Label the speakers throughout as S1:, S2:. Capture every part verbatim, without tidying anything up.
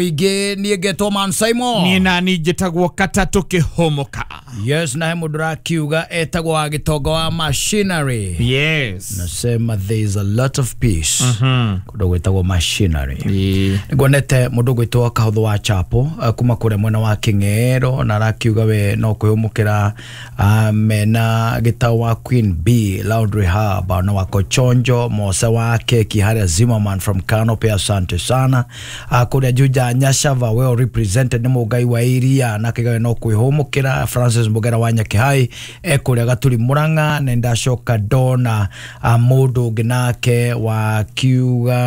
S1: Ingĩ niĩ ngetwo Man Simon.
S2: Niĩ nani njĩtagwo Katatũ Kĩhũmũka.
S1: Yes, na he mũndũ ũrakiuga etagwo wa Gĩtonga wa Machinery.
S2: Yes.
S1: Nasema there is a lot of peace kũndũ gwĩtagwo Machinery.
S2: Ĩĩ.
S1: Nguonete mũndũ gwĩtwo Kahũthũ wa Chapo eh, kuma kũrĩa mwena wa Kĩng'ero, na arakiuga we no kwĩhũmũkĩra ah, mena gĩtau wa Queen B Laundry Hub na wako Chonjo Mose wa Keki harĩa Zimmerman from Canopy, asante sana. Ah, kũrĩa Juja Nyashava well represented nĩ Mũngai wa Iria, na akiuga we no kwĩhũmũkĩra. Francis Mbugera wa Nyakĩhai ekũrĩa Gaturi Murang'a, na ndacoka ndona ah, mũndũ ũngĩ nake wakiuga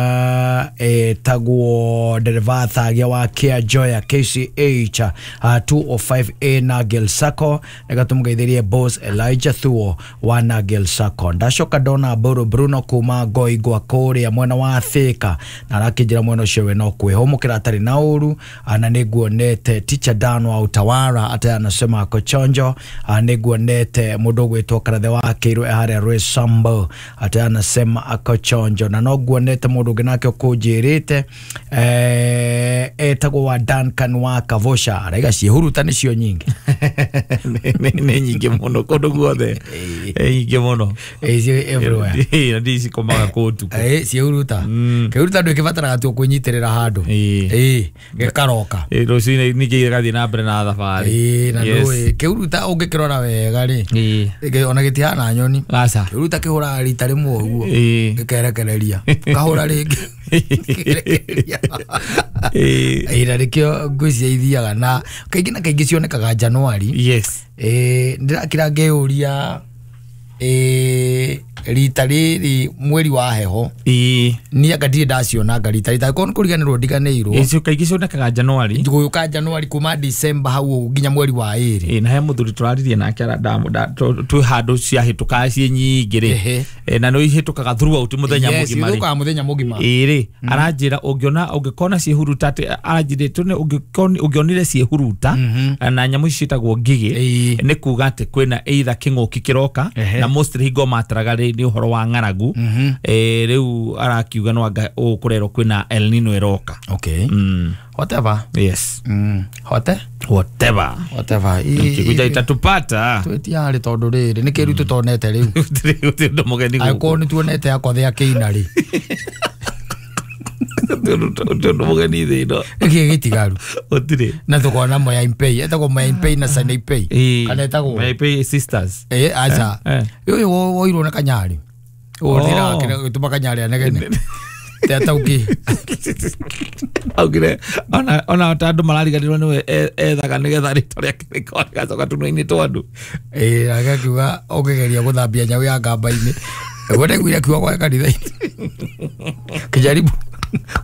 S1: etagwo ndereba Thagia wa Kia Joya K C H uh, two oh five A Nagel Sacco, nĩgatũmũgeithĩrie boss Elijah Thuo wa Nagel Sacco. Ndacoka ndona Mburu Bruno kuma Ngoingwa kũrĩa mwena wa Thika, na arakĩnjĩra mwena ũcio we no kwĩhũmũkĩra atarĩ na ũru. Na nĩnguonete Teacher Dan wa Utawara ate anasema ako chonjo. Nĩnguonete mũndũ ũgwĩtwo Karathe wa Kĩirũ e harĩa Rwesambo ate anasema ako chonjo. Na no nguonete mũndũ ũngĩ nake ũkũnjĩrĩte eh, etagwo wa Duncan wa Kavosha, araiga ciĩhuruta nĩcio nyingĩ.
S2: Nĩ nyingĩ mũno kũndũ guothe. Nĩ nyingĩ mũno.
S1: Ĩ, ciĩ everywhere.
S2: Ĩ, na ndicikomaga kũu ũtukũ.
S1: Ĩ, ciĩhuruta. Kĩhuruta ndũkĩbataraga tu kwĩnyitĩrĩra handũ.
S2: Ĩ.
S1: Ĩ, gĩkaroka.
S2: Ĩ, rũcinĩ ningĩ gĩgathiĩ na mbere na thabarĩ.
S1: Ĩ, na
S2: Yes.
S1: ndũĩ kĩhuruta ũngĩkĩrora wega rĩ,
S2: Ĩ.
S1: gĩ- ona gĩtihana nyoni.
S2: Aca.
S1: Kĩhuruta kĩhũraga rita rĩmwe ũguo
S2: Ĩ.
S1: gĩkerekereria, kahũra rĩngĩ gĩkerekereria.
S2: Ĩ.
S1: Ĩ, na nĩkĩo ngwĩciria ithiaga na kaingĩ na kaingĩ cionekaga Januari.
S2: Yes.
S1: Ĩ, ndĩrakira ngĩyũria, ĩ, rita rĩrĩ mweri wa heho
S2: Ĩ.
S1: niĩ anga ndirĩ ndacionanga rita rita korwo nĩ kũriganĩrwo ndiganĩirwo.
S2: Icio kaingĩ cionekaga Januari.
S1: Gũgĩũka Januari kuma December hau ũguo nginya mweri wa ĩrĩ.
S2: Ĩ, na he mũthuri tũraririe nake ara- ndamu- nda- tũ- twĩ handũ ciahĩtũkaga ciĩ nyingĩ rĩ.
S1: Ehe.
S2: Ĩ, na nĩ ihĩtũkaga throughout mũthenya
S1: Yes,
S2: mũgima rĩ.
S1: ithũkaga mũthenya mũgima.
S2: Ĩ rĩ, aranjĩra ũngĩona ũngĩkona ciĩhuruta atĩ aranjĩra tũne ũngĩkona ũngĩonire ciĩhuruta na nyamũ ici ciĩtagwo ngigĩ,
S1: Ĩ.
S2: nĩ kuga atĩ kwĩna either kĩng'ũki kĩroka,
S1: Ehe.
S2: na mostly hingo mataraga rĩ nĩ ũhoro wa ng'aragu. Ĩ, rĩu arakiuga no anga ũũ kũrerwo kwĩna El Nino ĩroka.
S1: Okay.
S2: Mm.
S1: Whatever.
S2: Yes.
S1: Mm. Hote?
S2: Whatever.
S1: Whatever. Ĩ-
S2: Kĩguja itatupata.
S1: Twĩtiarĩ tondũ rĩrĩ nĩ kĩru tũtonete rĩu.
S2: Gũtirĩ gũtirĩ ũndũ mũgeni gũkũ.
S1: Angĩkorwo nĩ tuonete akothea kĩina rĩ.
S2: Gũtirĩ ũndũ mũgeni thĩ ĩno.
S1: Nĩkĩĩ gĩtigaru?
S2: Gũtirĩ.
S1: Na tũkona Moya Impei, etagwo Moya Impei na Sanaipei.
S2: Ĩ.
S1: Kana etagwo?
S2: Moya Impei sisters.
S1: Ĩ, aca.
S2: Eh, eh.
S1: Ũyũ woirwo nĩ Kanyarĩ.
S2: Oh.
S1: Ũthira gĩtũma Kanyarĩ anegene. Te atauki.
S2: Augire ona ona ta andũ marariganĩrwo nĩwe e- ethaga nĩgetha rĩtwa rĩake rĩkorwo rĩgacoka tũnua-inĩ twa andũ.
S1: Ĩ, agakiuga ũkĩgeria gũthambia nyau ya ngamba-inĩ. Nĩguo ndaiguire akiuga kwa kanitha-inĩ. Kijaribu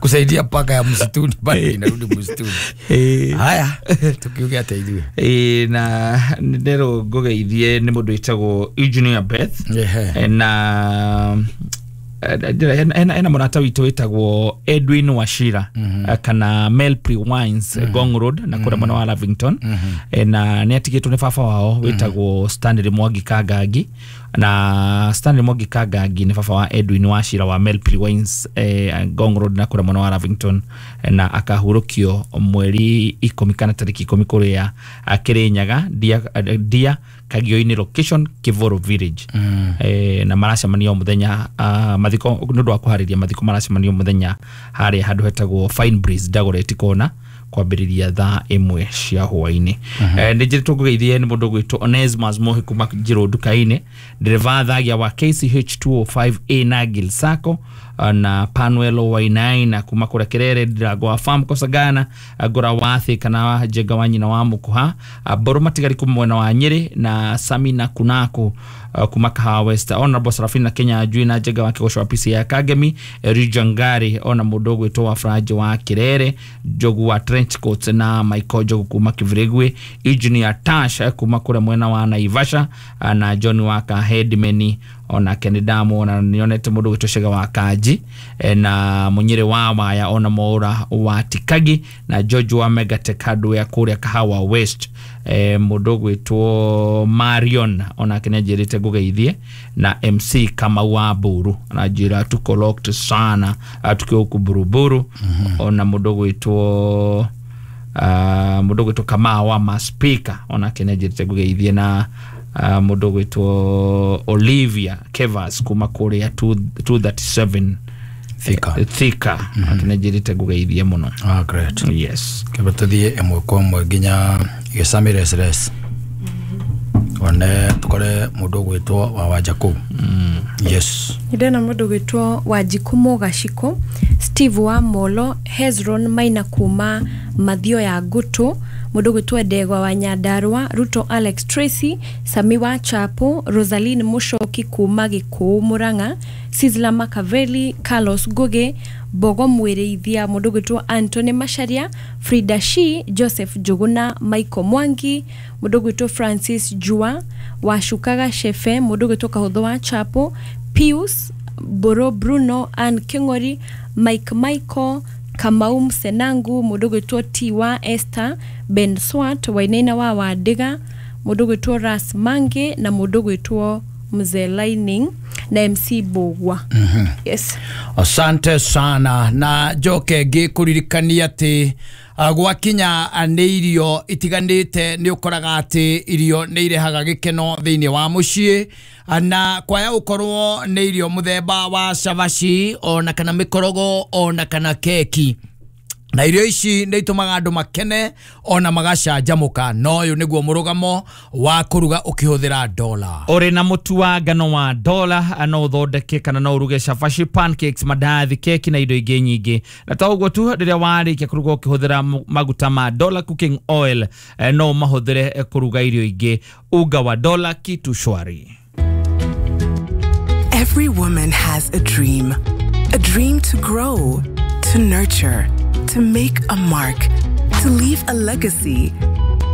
S1: kusaidia paka ya msituni bado inarudi msituni.
S2: Ĩ.
S1: Haya, tukiuge atĩa ithuĩ?
S2: Ĩ, na nderwo ngũgeithie nĩ mũndũ wĩtagwo Engineer Beth.
S1: Ehe.
S2: Na ena ena ena mũrata witũ wĩtagwo Edwin Wachira, eh, kana Melpri Wines, Ngong Road na kũrĩa mwena wa Lavington. Eh, na nĩ atigĩtwo nĩ baba wao wĩtagwo Stanley Mwangi Kangangi, na Stanley Mwangi Kangangi nĩ baba wa Edwin Wachira wa Melpri Wines, eh, Ngong Road na kũrĩa mwena wa Lavington, eh, na akahurũkio mweri ikũmi kana tarĩki ikũmi kũrĩa Kĩrĩnyaga Ndia, Ndia Kagio-inĩ location Kivoro Village. Eh, na maracemania o mũthenya ah, mathiko nĩ ũndũ wa kũharĩria mathiko maracemania o mũthenya harĩa handũ hetagwo Fine Breeze Dagoretti Corner kwambĩrĩria thaa ĩmwe cia hwaĩ-inĩ. Eh, nĩ njĩrĩtwo ngũgeithie nĩ mũndũ ũgwĩtwo Onesmus Mohi kuma Njirũ nduka-inĩ, ndereba Thagia wa K C H two oh five A Nagil Sacco, na Panuelo Wainaina kuma kũrĩa Kerere, Ndirango wa Farm Kosagana, Ngora wa Thĩ kana Njenga wa nyina wa Mũkuha, Mbũrũ Matigari kuma mwena wa Nyĩrĩ, na Samina Kunako kuma Kahawa West, Honorable Serafina Kenya Njui na Njenga wa Kĩgoco wa P C ya Kagemi, Elijah Ngari ona mũndũ ũgwĩtwo wa Franji wa Kerere, Njogu wa Trench Coats na Michael Njogu kuma Kivregwe, Engineer Tash kuma kũrĩa mwena wa Naivasha, na John wa Kahedimeni Onake nĩ ndamuona, nĩonete mũndũ gwĩtwo Cega wa Kanji na Munyĩrĩ wa Waya, ona Mwaura wa Tikagi na George wa Megatech Hardware kũrĩa Kahawa West. E, mũndũ gwĩtwo Marion onake nĩanjĩrĩte ngũgeithie, na M C Kamau wa Mburu ananjĩra tuko locked sana tukiwa huku Buruburu. mm-hmm. Ona mũndũ gwĩtwo uh, mũndũ gwĩtwo Kamau wa Maspika onake nĩanjĩrĩte ngũgeithie, na uh, mũndũ gwĩtwo Olivia Kevas kuma kũrĩa two thirty-seven
S1: Thika.
S2: Thika. Mm-hmm. Akinajirite ngũgeithie mũno.
S1: Ah, great.
S2: Yes.
S1: Kebe tuthiĩ ĩmwe kwa ĩmwe nginya gĩcamĩ res. One tukore mũndũ ũgwĩtwo wa Wanjakũ. Yes.
S3: Ndĩrona mũndũ ũgwĩtwo Wanjikũ Mũgacikũ, Steve wa Molo, Hezron Maina kuma Mathio ya Ngũtũ, mũndũ ũgwĩtwo Ndegwa wa Nyandarua, Ruto Alex Tracy, Sami wa Chapo, Rosaline Mushoki kuma Gĩkũũ Murang'a, Sizzla Makaveli, Carlos Ngugi, Bogo Mwĩrĩithia, mũndũ ũgwĩtwo Anthony Macharia, Frida Shi, Joseph Njuguna, Michael Mwangi, mũndũ ũgwĩtwo Francis Jua, Washukaga Shefe, mũndũ ũgwĩtwo Kahũthũ wa Chapo, Pius Boro Bruno, Ann King'ori, Mike Michael, Kamau Msenangu, mũndũ ũgwĩtwo Tiwa Esther, Ben Swat, Wainaina wa Wandiga, mũndũ ũgwĩtwo Ras Mange na mũndũ ũgwĩtwo Mzee Lining na M C Bogwa.
S1: Mm-hmm.
S3: Yes.
S1: Asante sana. Na njoke ngĩkũririkania atĩ gwakinya nĩ irio itiganĩte nĩ ũkoraga atĩ irio nĩ irehaga gĩkeno thĩinĩ wa mũciĩ, na kwaya ũkorwo nĩ irio mũthemba wa cabaci ona kana mĩkorogo ona kana keki, na irio ici nĩ itũmaga andũ makene ona magacanjamũka. No ũyũ nĩguo mũrũgamo wa kũruga ũkĩhũthĩra dola.
S2: Ũrĩ na mũtu wa ngano wa dola no ũthondeke kana no ũruge cabaci, pancakes, mandathi, keki na indo ingĩ nyingĩ. Na to ũguo tu, rĩrĩa warĩkia kũruga ũkĩhũthĩra maguta ma Dola cooking oil no ũmahũthĩre kũruga irio ingĩ. Unga wa Dola, kitu shwari.
S4: Every woman has a dream. A dream to grow, to nurture, to make a mark, to leave a legacy.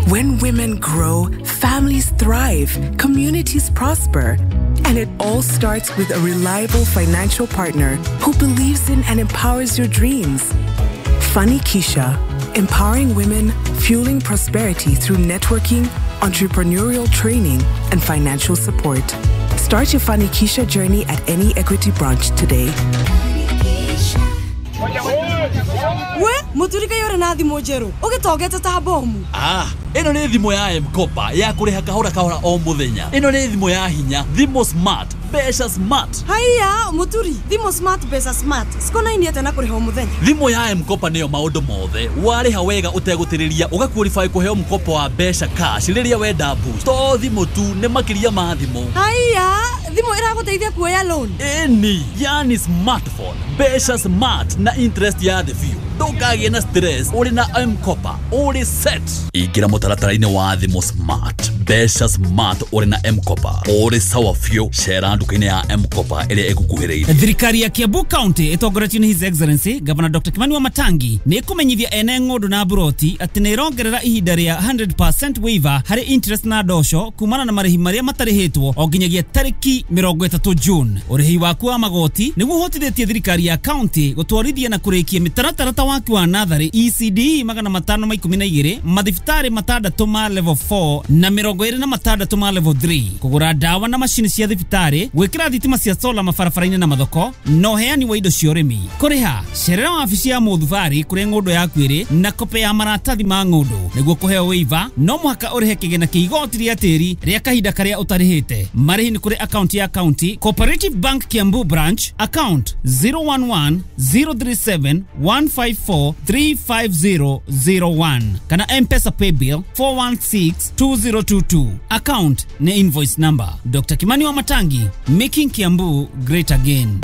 S4: When women grow, families thrive, communities prosper. And it all starts with a reliable financial partner who believes in and empowers your dreams. Funny Keisha, empowering women, fueling prosperity through networking, entrepreneurial training, and financial support. Start your Funny Keisha journey at any Equity branch today.
S5: We muturika yore na thimũ njerũ ũgĩtongete ta bomu.
S6: Ah, ĩno nĩ thimũ ya M-Kopa ya kũrĩha kahora kahora o mũthenya. Ĩno nĩ thimũ ya hinya, thimũ smart, mbeca smart.
S5: Haiya muturi, thimũ smart, mbeca smart cikonainie atĩa na kũrĩha o mũthenya?
S6: Thimũ ya M-Kopa nĩyo maũndũ mothe. Warĩha wega ũtegũtĩrĩria ũgaqualify kũheo mkopo wa mbeca cash rĩrĩa wenda boost. To thimũ tu, nĩ makĩria ma thimũ.
S5: Haiya, thimũ ĩragũteithia kuoya loan?
S6: Ĩni, yani smartphone, mbeca smart na interest ya thĩ biũ. Ndũkagĩe na stress, ũrĩ na M-Kopa, ũrĩ set. Ingĩra mũtaratara-inĩ wa thimũ smart, mbeca smart ũrĩ na M-Kopa, ũrĩ sawa biũ. Cera nduka-inĩ ya M-Kopa ĩrĩa ĩgũkuhĩrĩirie.
S7: Thirikari ya Kiambu County ĩtongoretio nĩ His Excellency Governor Doctor Kimani Wamatangi nĩ ĩkũmenyithia ene ng'ũndũ na mburoti atĩ nĩ ĩrongerera ihinda rĩa one hundred percent waiver harĩ interest na ndosho kumana na marĩhi marĩa matarĩhĩtwo o nginyagia tarĩki mĩrongo ĩtatũ June. Ũrĩhi waku wa magoti nĩguo ũhotithĩtie thirikari ya county gũtwarithia na kũrĩkia mĩtaratara ta waki wa natharĩ E C D magana matano ma ikũmi na igĩrĩ, mathibitarĩ matandatũ ma level four na mĩrongo ĩrĩ na matandatũ ma level three, kũgũra ndawa na macini cia thibitarĩ, gwĩkĩra thitima cia sola mabarabara-inĩ na mathoko, na ũheani wa indo cia ũrĩmi. Kũrĩha, cerera wabici ya mũthubarĩ kũrĩa ng'ũndũ yaku ĩrĩ na kope ya maratathi ma ng'ũndũ. Nĩguo kũheo waiver, no mũhaka ũrĩhe kĩgĩna kĩa igoti rĩa tĩri rĩa kahinda karĩa ũtarĩhĩte. Marĩhi nĩ kũrĩ akaunti ya county, Cooperative Bank Kiambu Branch, account zero one one zero three seven one five four three five zero zero one kana M-Pesa paybill four one six two zero two two. Account ni invoice number. Doctor Kimani Wamatangi, making Kiambu great again.